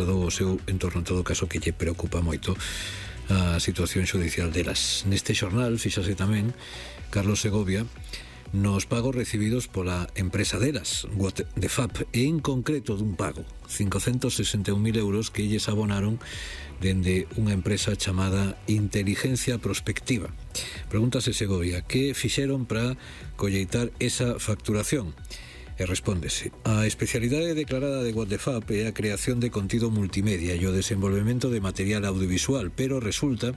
trasladou ao seu entorno, en todo caso que lle preocupa moito a situación xudicial delas. Neste xornal fíxase tamén Carlos Segovia nos pagos recibidos pola empresa delas, What the Fab, e en concreto dun pago 561.000 euros que lles abonaron dende unha empresa chamada Inteligencia Prospectiva. Pregúntase Segovia que fixeron para colleitar esa facturación. E respóndese: a especialidade declarada de What the Fab é a creación de contido multimedia e o desenvolvemento de material audiovisual, pero resulta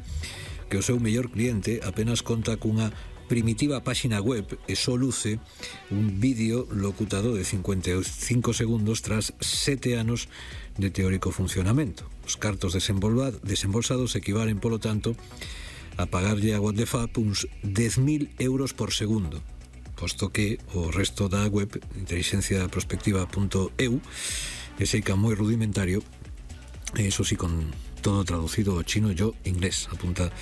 que o seu mellor cliente apenas conta cunha primitiva páxina web e só luce un vídeo locutado de 55 segundos tras 7 anos de teórico funcionamento. Os cartos desembolsados equivalen, polo tanto, a pagarlle a What the Fab uns 10.000 euros por segundo, posto que o resto da web inteligenciaprospectiva.eu é seica moi rudimentario, e iso sí con todo traducido ao chino e ao inglés, apunta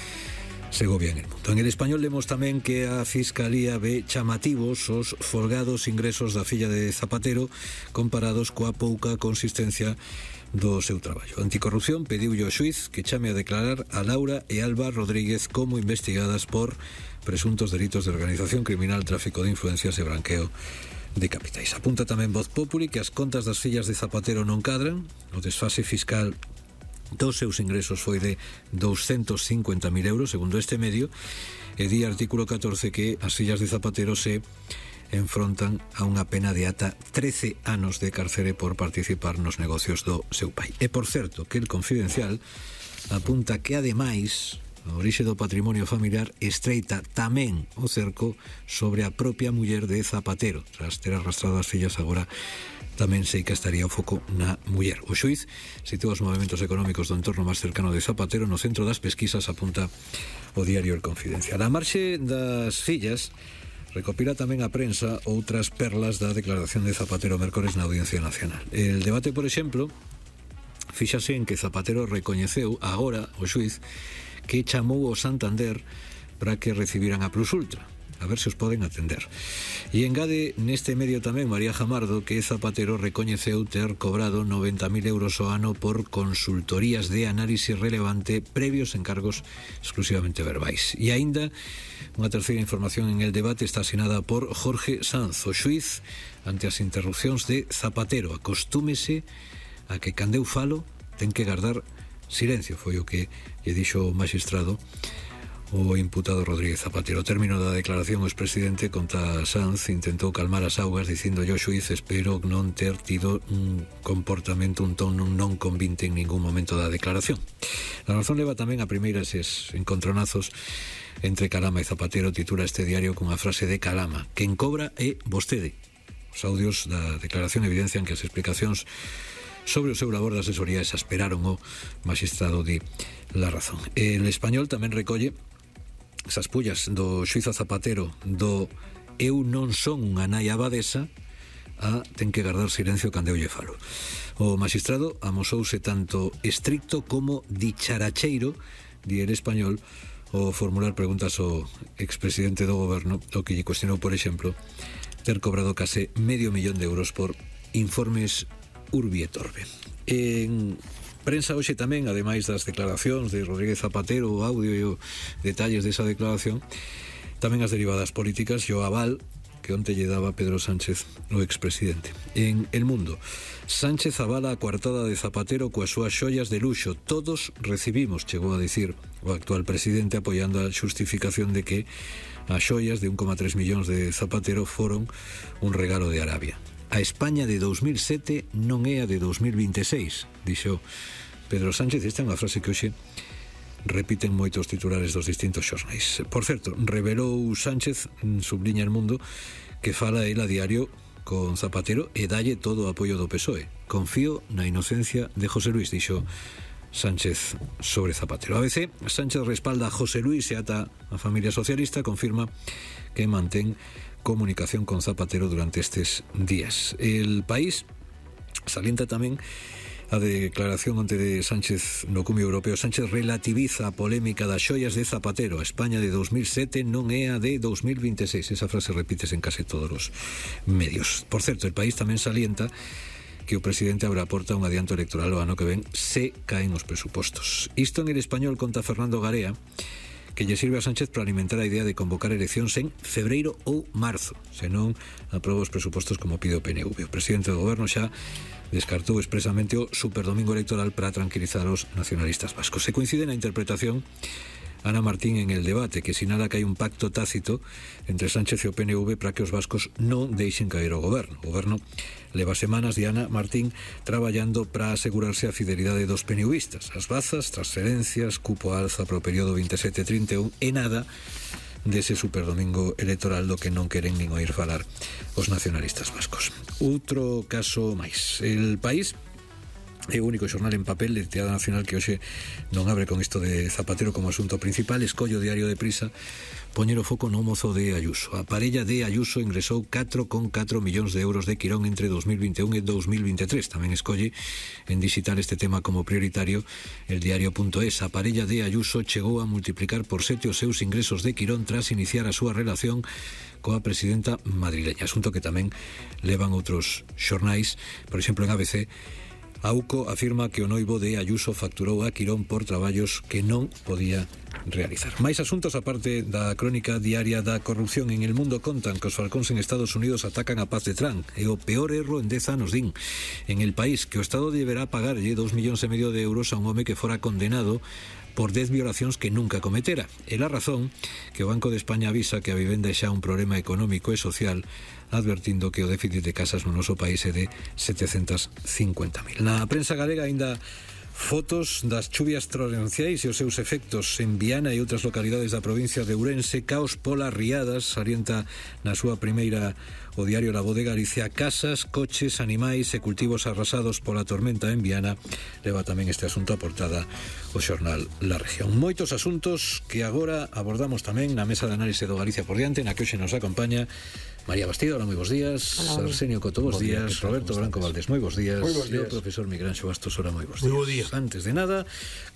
Segovia en El Mundo. En El Español lemos tamén que a Fiscalía ve chamativos os folgados ingresos da filla de Zapatero comparados coa pouca consistencia do seu traballo. Anticorrupción pediulle ao xuiz que chame a declarar a Laura e Alba Rodríguez como investigadas por presuntos delitos de organización criminal, tráfico de influencias e branqueo de capitais. Apunta tamén Voz Populi que as contas das fillas de Zapatero non cadran, o desfase fiscal dos seus ingresos foi de 250.000 euros, segundo este medio, e di artículo 14 que as fillas de Zapatero se enfrontan a unha pena de ata 13 anos de cárcere por participar nos negocios do seu pai. E, por certo, que El Confidencial apunta que, ademais, a orixe do patrimonio familiar estreita tamén o cerco sobre a propia muller de Zapatero. Tras ter arrastrado as fillas, agora tamén sei que estaría o foco na muller. O xuiz sitúa os movimentos económicos do entorno máis cercano de Zapatero no centro das pesquisas, apunta o diario El Confidencial. A marxe das fillas, recopila tamén a prensa outras perlas da declaración de Zapatero mércores na Audiencia Nacional. El debate, por exemplo, fíxase en que Zapatero recoñeceu agora o xuiz que chamou ao Santander para que recibiran a Plus Ultra. A ver se os poden atender. E engade neste medio tamén María Jamardo que Zapatero recoñeceu ter cobrado 90.000 euros ao ano por consultorías de análise relevante previos encargos exclusivamente verbais. E aínda unha terceira información en El Debate está asinada por Jorge Sanz, o xuiz ante as interrupcións de Zapatero. Acostúmese a que cando eu falo ten que guardar silencio, foi o que lle dixo o magistrado o imputado Rodríguez Zapatero. Ao término da declaración, o expresidente, conta Sanz, intentou calmar as augas dicindo ao xuiz: espero non ter tido un comportamento, un tono non convinte en ningún momento da declaración. La Razón leva tamén a primeiras encontronazos entre Calama e Zapatero. Titula este diario cunha frase de Calama: quen cobra é vostede. Os audios da declaración evidencian que as explicacións sobre o seu labor de asesoría exasperaron o magistrado de La Razón. El Español tamén recolle esas pullas do xuiz a Zapatero do eu non son unha nai abadesa a ten que guardar silencio cando eu lle falo. O magistrado amosouse tanto estricto como dicharacheiro, di El Español, ao formular preguntas ao expresidente do goberno, o que lle cuestionou, por exemplo, ter cobrado case €500.000 por informes Urbi et Orbi. En prensa hoxe tamén, ademais das declaracións de Rodríguez Zapatero, o audio e os detalles desa declaración, tamén as derivadas políticas e o aval que onte lle daba Pedro Sánchez, o expresidente. En El Mundo, Sánchez avala a coartada de Zapatero coas súas xoias de luxo. Todos recibimos, chegou a dicir o actual presidente, apoiando a xustificación de que as xoias de 1,3 millóns de Zapatero foron un regalo de Arabia. A España de 2007 non é a de 2026, dixo Pedro Sánchez. Esta é unha frase que hoxe repiten moitos titulares dos distintos xornais. Por certo, revelou Sánchez, subliña El Mundo, que fala el a diario con Zapatero e dalle todo o apoio do PSOE. Confío na inocencia de José Luis, dixo Sánchez sobre Zapatero. A veces Sánchez respalda a José Luis e ata a familia socialista confirma que mantén comunicación con Zapatero durante estes días. El País salienta tamén a declaración onte de Sánchez no Cumio Europeo. Sánchez relativiza a polémica das xoias de Zapatero. A España de 2007 non é a de 2026. Esa frase repítese en case todos os medios. Por certo, El País tamén salienta que o presidente abra a porta a un adianto electoral o ano que ven se caen os presupostos. Isto en El Español conta Fernando Garea, que lle sirve a Sánchez para alimentar a idea de convocar eleccións en febreiro ou marzo, senón aproba os presupostos como pide o PNV. O presidente do goberno xa descartou expresamente o superdomingo electoral para tranquilizar os nacionalistas vascos. Se coincide na interpretación Ana Martín en El Debate, que sinala que hai un pacto tácito entre Sánchez e o PNV para que os vascos non deixen caer o goberno. O goberno leva semanas de Ana Martín traballando para asegurarse a fidelidade dos PNVistas. As bazas, transferencias, cupo alza para o período 27-31 e nada dese superdomingo electoral do que non queren nin oír falar os nacionalistas vascos. Outro caso máis. El País é o único xornal en papel de tirada nacional que hoxe non abre con isto de Zapatero como asunto principal. Escollo o Diario de Prisa poñer o foco no mozo de Ayuso. A parella de Ayuso ingresou 4,4 millóns de euros de Quirón entre 2021 e 2023. Tamén escolle en digital este tema como prioritario el diario.es. A parella de Ayuso chegou a multiplicar por 7 os seus ingresos de Quirón tras iniciar a súa relación coa presidenta madrileña. Asunto que tamén levan outros xornais, por exemplo en ABC. AUCO afirma que o noivo de Ayuso facturou a Quirón por traballos que non podía realizar. Máis asuntos aparte da crónica diaria da corrupción. En El Mundo contan que os falcóns en Estados Unidos atacan a paz de Trump. É o peor erro en 10 anos, din. En El País, que o Estado deberá pagarlle 2,5 millóns de euros a un home que fora condenado por 10 violacións que nunca cometera. É a razón que o Banco de España avisa que a vivenda é xa un problema económico e social, advertindo que o déficit de casas no noso país é de 750.000. Na prensa galega aínda fotos das chuvias torrenciais e os seus efectos en Viana e outras localidades da provincia de Ourense. Caos polas riadas, salienta na súa primeira o diario La Voz de Galicia. Casas, coches, animais e cultivos arrasados pola tormenta en Viana. Leva tamén este asunto a portada o xornal La Región. Moitos asuntos que agora abordamos tamén na mesa de análise do Galicia por diante, na que hoxe nos acompaña María Bastido, hola, moi bons días. Hola. Arsenio Coto, bons días. Roberto Blanco Valdés, moi bons días. Moi bons días. E o profesor Miguel Anxo Bastos, hola, moi bons Moi días. bo día. Antes de nada,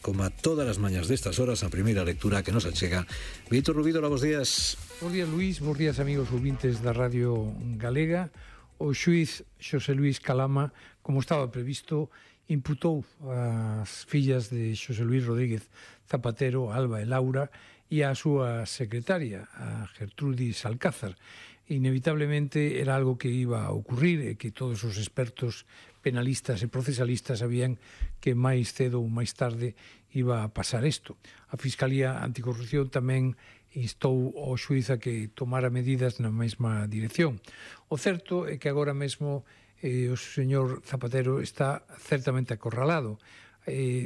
como a todas as mañas destas horas, a primeira lectura que nos achega Víctor Rubido, hola, bons días. Bos días, Luís, bos días, amigos ouvintes da Radio Galega. O xuiz Xosé Luís Calama, como estaba previsto, imputou as fillas de Xosé Luís Rodríguez Zapatero, Alba e Laura, e a súa secretaria, a Gertrudis Alcázar. Inevitablemente era algo que iba a ocurrir e que todos os expertos penalistas e procesalistas sabían que máis cedo ou máis tarde iba a pasar isto. A Fiscalía Anticorrupción tamén instou ao xuiz a que tomara medidas na mesma dirección. O certo é que agora mesmo o señor Zapatero está certamente acorralado.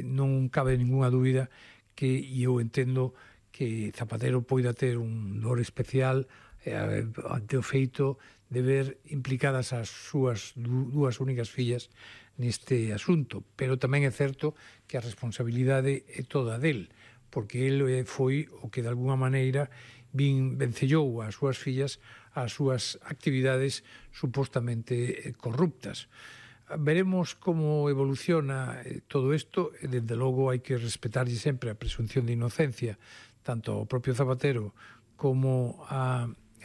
Non cabe ninguna dúbida que, e eu entendo, que Zapatero poida ter un dor especial ante o feito de ver implicadas as súas dúas únicas fillas neste asunto, pero tamén é certo que a responsabilidade é toda del, porque el foi o que de alguna maneira vencellou as súas fillas ás súas actividades supostamente corruptas. Veremos como evoluciona todo isto, e desde logo hai que respetarlle sempre a presunción de inocencia tanto ao propio Zapatero como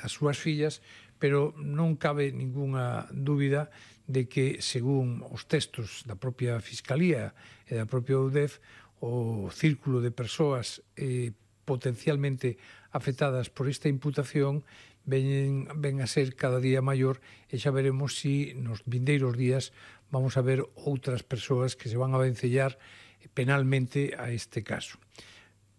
as súas fillas, pero non cabe ningunha dúbida de que, según os textos da propia Fiscalía e da propia UDEF, o círculo de persoas potencialmente afectadas por esta imputación ven a ser cada día maior, e xa veremos si nos vindeiros días vamos a ver outras persoas que se van a vencellar penalmente a este caso.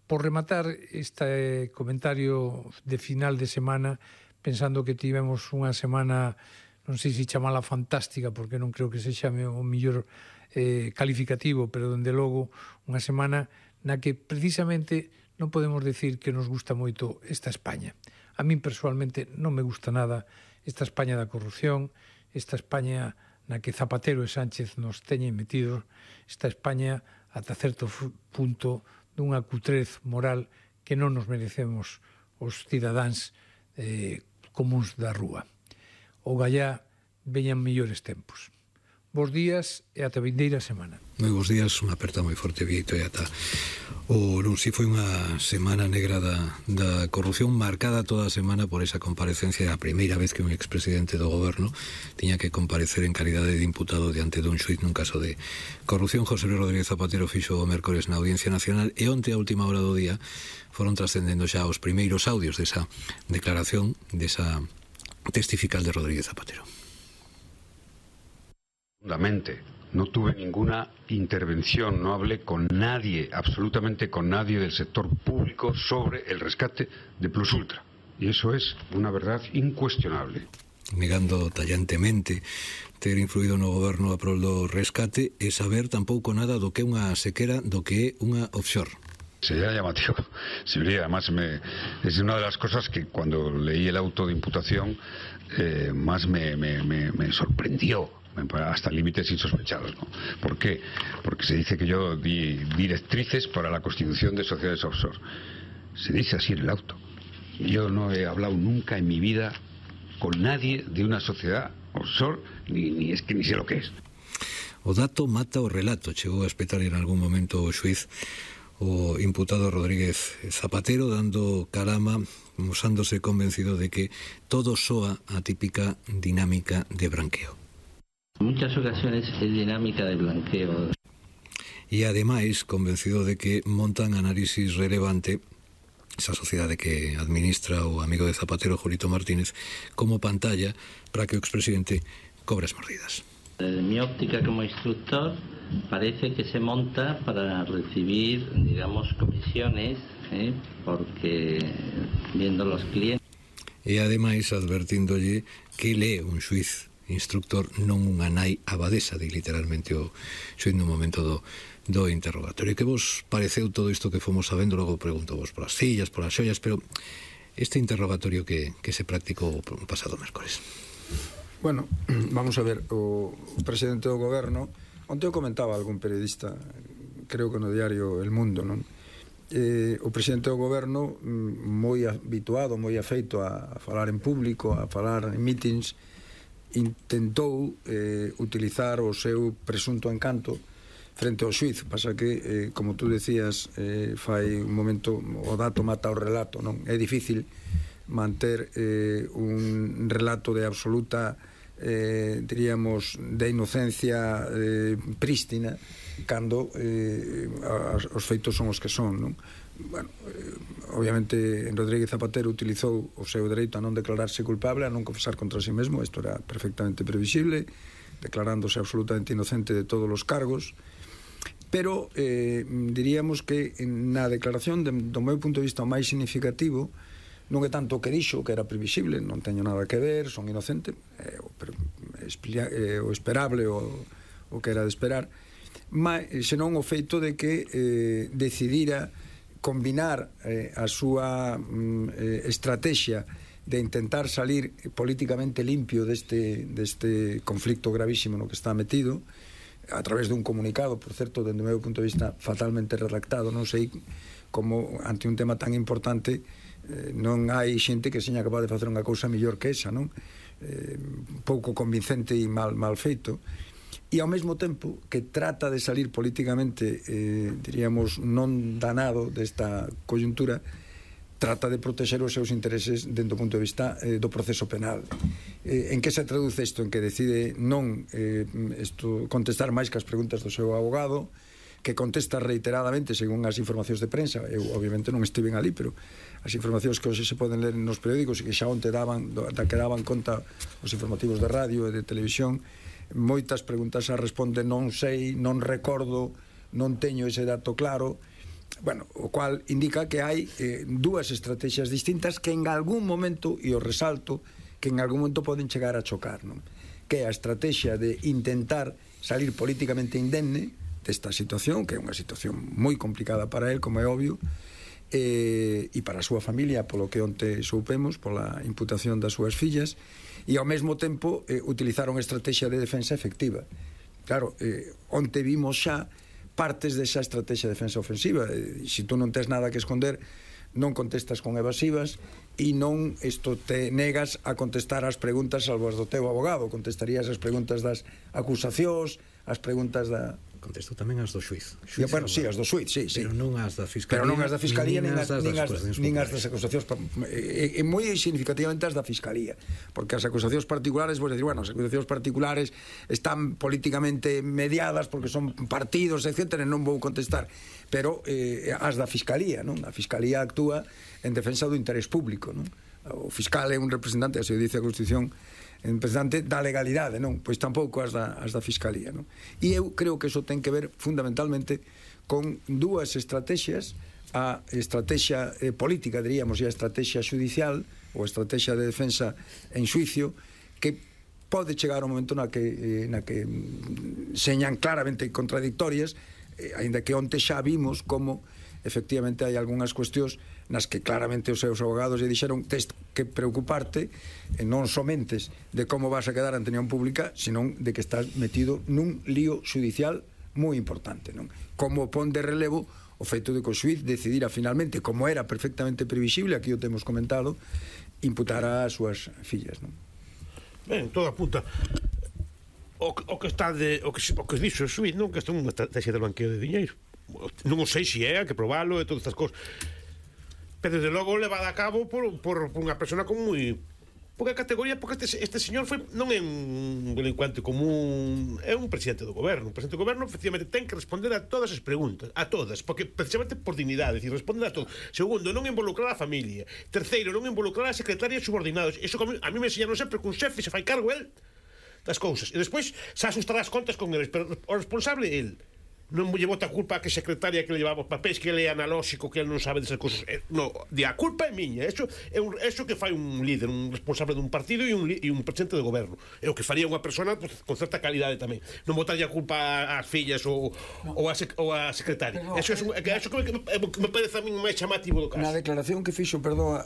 Por rematar este comentario de final de semana, pensando que tivemos unha semana, non sei se chamala fantástica, porque non creo que se chame o mellor calificativo, pero dende logo unha semana na que precisamente non podemos decir que nos gusta moito esta España. A min personalmente non me gusta nada esta España da corrupción, esta España na que Zapatero e Sánchez nos teñen metidos, esta España ata certo punto dunha cutrez moral que non nos merecemos os cidadáns comuns da rúa. O gallá veñan mellores tempos. Bos días e ata vindeira semana. Moi bons días, unha aperta moi forte, Vieito, e ata non si foi unha semana negra da corrupción, marcada toda a semana por esa comparecencia, a primeira vez que un expresidente do goberno tiña que comparecer en calidade de imputado diante dun xuiz nun caso de corrupción. José Luis Rodríguez Zapatero fixo o mércores na Audiencia Nacional e onte a última hora do día foron trascendendo xa os primeiros audios desa declaración, desa testifical de Rodríguez Zapatero. No tuve ninguna intervención, no hablé con nadie, absolutamente con nadie del sector público sobre el rescate de Plus Ultra. Y eso es una verdad incuestionable. Negando tallantemente ter influído no goberno a prol do rescate e saber tampouco nada do que é unha sequera, do que é unha offshore. Sería llamativo. Además, es una de las cosas que cuando leí el auto de imputación más me sorprendió, hasta límites insospechados, ¿no? ¿Por qué? Porque se dice que yo di directrices para la constitución de sociedades offshore. Se dice así en el auto. Yo no he hablado nunca en mi vida con nadie de una sociedad offshore, ni sé lo que es. O dato mata o relato, chegou a espetar en algún momento o xuiz o imputado Rodríguez Zapatero, dando carama, mosándose convencido de que todo soa a típica dinámica de branqueo. En muchas ocasiones es dinámica de blanqueo. E ademais convencido de que montan análisis relevante esa sociedade que administra o amigo de Zapatero, Julito Martínez, como pantalla para que o expresidente cobre as mordidas. Desde mi óptica como instructor parece que se monta para recibir, digamos, comisiones, porque viendo los clientes. E ademais advertíndolle que lee un xuiz instructor, non unha nai abadesa, di literalmente o xuiz no momento do interrogatorio. Que vos pareceu todo isto que fomos sabendo? Logo pregunto vos polas fillas, polas xollas, pero este interrogatorio que se practicou o pasado mércores. Bueno, vamos a ver, o presidente do goberno, onte o comentaba algún periodista, creo que no diario El Mundo, non? O presidente do goberno, moi habituado, moi afeito a falar en público, a falar en meetings, intentou utilizar o seu presunto encanto frente ao xuiz. Pasa que, como tú decías, fai un momento, o dato mata o relato, non? É difícil manter un relato de absoluta, diríamos, de inocencia prístina cando os feitos son os que son, non? Bueno, obviamente Rodríguez Zapatero utilizou o seu dereito a non declararse culpable, a non confesar contra si mesmo. Isto era perfectamente previsible, declarándose absolutamente inocente de todos os cargos, pero diríamos que na declaración, do meu punto de vista, o máis significativo non é tanto o que dixo, que era previsible, non teño nada que ver, son inocente, o esperable, o que era de esperar, senón o feito de que decidira combinar a súa estrategia de intentar salir políticamente limpio deste conflicto gravísimo no que está metido, a través dun comunicado, por certo, dende o meu punto de vista fatalmente redactado. Non sei como ante un tema tan importante non hai xente que seña capaz de facer unha cousa mellor que esa, non? Pouco convincente e mal feito. E ao mesmo tempo que trata de salir políticamente, diríamos, non danado desta coyuntura, trata de protexer os seus intereses dentro do punto de vista do proceso penal. En que se traduce isto? En que decide non contestar máis que as preguntas do seu abogado, que contesta reiteradamente según as informacións de prensa. Eu obviamente non estiven ali, pero as informacións que hoxe se poden ler nos periódicos e que xa onte que daban conta os informativos de radio e de televisión, moitas preguntas a responde non sei, non recordo, non teño ese dato claro. Bueno, o cual indica que hai dúas estrategias distintas que en algún momento, e o resalto, que en algún momento poden chegar a chocar, non? Que é a estrategia de intentar salir políticamente indemne desta situación, que é unha situación moi complicada para él, como é obvio, e para a súa familia, polo que onte soupemos, pola imputación das súas fillas, e ao mesmo tempo utilizar unha estrategia de defensa efectiva. Claro, onte vimos xa partes desa estrategia de defensa ofensiva. Se tú non tes nada que esconder, non contestas con evasivas, e non isto te negas a contestar as preguntas salvo as do teu abogado, contestarías as preguntas das acusacións, as preguntas da... Contestou tamén as do xuiz. Bueno, sí, as do xuiz, sí. Pero non as da Fiscalía. Pero non as da Fiscalía, nin as das acusacións. E moi significativamente as da Fiscalía. Porque as acusacións particulares, vos decir, bueno, as acusacións particulares están políticamente mediadas porque son partidos, etc. Non vou contestar. Pero as da Fiscalía, non? A Fiscalía actúa en defensa do interés público, non? O fiscal é un representante, así dice a Constitución, en representante da legalidade, non? Pois tampouco as da Fiscalía, non? E eu creo que iso ten que ver fundamentalmente con dúas estrategias, a estrategia política, diríamos, e a estrategia judicial ou a estrategia de defensa en xuicio, que pode chegar un momento na que señan claramente contradictorias, aínda que onte xa vimos como efectivamente hai algunhas cuestións nas que claramente os seus abogados lle dixeron tes que preocuparte non somentes de como vas a quedar ante a unión pública, senón de que estás metido nun lío judicial moi importante, non? Como pon de relevo o feito de que o xuiz decidira finalmente, como era perfectamente previsible, aquí o temos comentado, imputar as súas fillas, non? Ben, todo apunta o que está o que dixo o xuiz, non? Que isto é unha estrategia de banqueo de diñeiro. Non o sei se é, que probalo e todas estas cosas, pero desde logo levada a cabo por unha persona con moi pouca categoría, porque este señor non é un delincuente común, é un presidente do goberno. O presidente do goberno efectivamente ten que responder a todas as preguntas, a todas, porque precisamente por dignidade, decir, responder a todo. Segundo, non involucrar a familia. Terceiro, non involucrar a secretaria e subordinados. Iso a mí me enseñaron sempre que un xefe se fai cargo el das cousas, e despois se asustará as contas con eles, pero o responsable é el. Non lle bota a culpa a que secretaria que le llevaba os papéis, que ele é analóxico, que ele non sabe desas cousas. No, a culpa é miña. Eso que fai un líder, un responsable dun partido e un presidente do goberno. É o que faría unha persona pues, con certa calidade tamén. Non botarlle a culpa ás fillas ou a secretaria. Eso que me parece a mí máis chamativo do caso. Na declaración que fixo,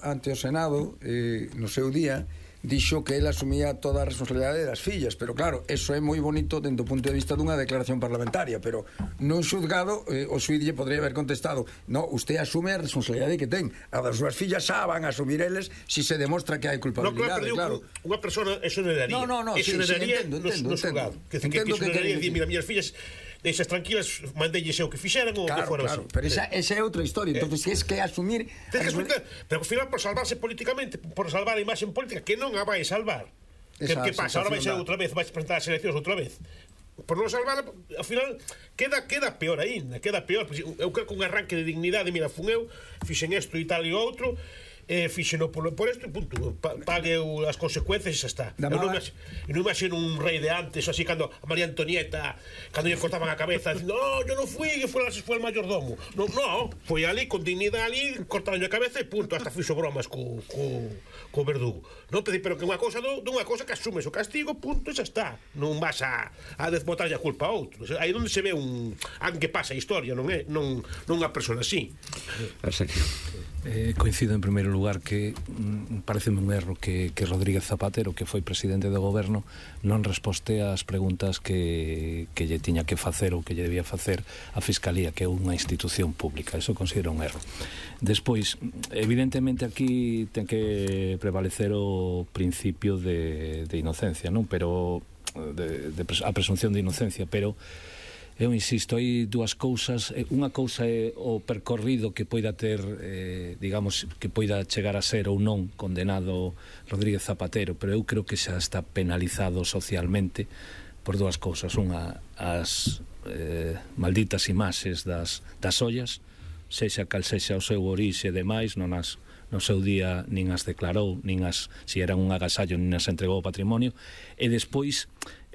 ante o Senado, no seu día, dixo que ele asumía toda a responsabilidade das fillas, pero claro, eso é moi bonito dentro do punto de vista dunha declaración parlamentaria, pero non xuzgado, o xuiz lle podría haber contestado, no, usted asume a responsabilidade que ten, a das súas fillas xa van a asumir eles si se demostra que hai culpabilidade, claro. Unha persona exoneraría, exoneraría no xulgado, que exoneraría, mira, miñas fillas deixas tranquilas, mandelles o que fixeran ou que fora así. Pero esa é outra historia. Entonces, es que asumir... Pero ao final, por salvarse políticamente, por salvar a imaxe política, que non a vai salvar. Que pasa? Ahora vai ser outra vez, vais presentar as eleccións outra vez. Por non salvar, ao final, queda peor aínda, queda peor. Eu creo que un arranque de dignidade, mira, fun eu, fixen isto e tal e outro, fixeno por isto e punto, pague as consecuencias e xa está. Eu non imagino un rei de antes así, cando a María Antonieta, cando lle cortaban a cabeza dicindo, no, yo non fui, que foi el mayordomo. No, foi ali, con dignidade ali, cortaron a cabeza e punto, hasta fixo bromas co verdugo. Non, pero que unha cousa dunha cousa que asumes o castigo, punto, e xa está. Non vas a desbotarlle a culpa a outro. Aí onde se ve alguén que pasa a historia, non é? Non unha persona así. Coincido en primeiro lugar que pareceme un erro que Rodríguez Zapatero, que foi presidente do goberno, non resposte ás preguntas que lle tiña que facer ou que lle debía facer a Fiscalía, que é unha institución pública. Eso considero un erro. Despois, evidentemente aquí ten que prevalecer o principio de inocencia, non? Pero a presunción de inocencia, pero eu insisto, hai dúas cousas. Unha cousa é o percorrido que poida ter, digamos, que poida chegar a ser ou non condenado Rodríguez Zapatero, pero eu creo que xa está penalizado socialmente por dúas cousas. Unha, as malditas imaxes das ollas, sexa cal sexa o seu orixe e demais, non as no seu día nin as declarou, nin as, si eran un agasallo, nin as entregou ao patrimonio, e despois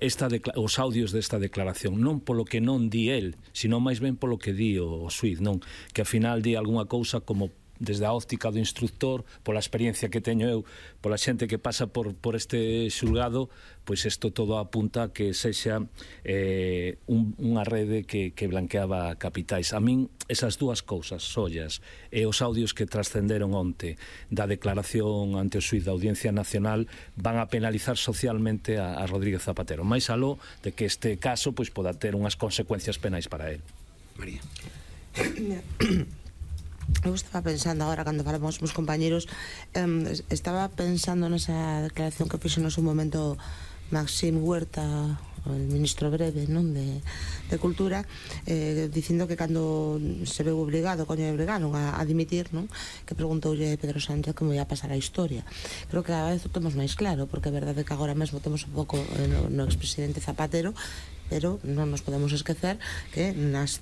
os audios desta declaración, non polo que non di el, sino máis ben polo que di o xuiz, non? Que ao final di algunha cousa como desde a óptica do instructor, pola experiencia que teño eu, pola xente que pasa por este xulgado, pois isto todo apunta a que sexa unha rede que blanqueaba capitais. A min, esas dúas cousas, ollas, e os audios que trascenderon onte da declaración ante o xuiz da Audiencia Nacional van a penalizar socialmente a Rodríguez Zapatero, máis aló de que este caso pois poda ter unhas consecuencias penais para él. María. Eu estaba pensando agora, cando falamos os meus compañeros, estaba pensando nesa declaración que fixo no seu momento Maxim Huerta, o ministro breve, non, de Cultura, dicindo que cando se veu obligado, obrigaron a dimitir, non, que preguntoulle Pedro Sánchez como ia pasar a historia. Creo que cada vez o temos máis claro, porque é verdade que agora mesmo temos un pouco no expresidente Zapatero, pero non nos podemos esquecer que nos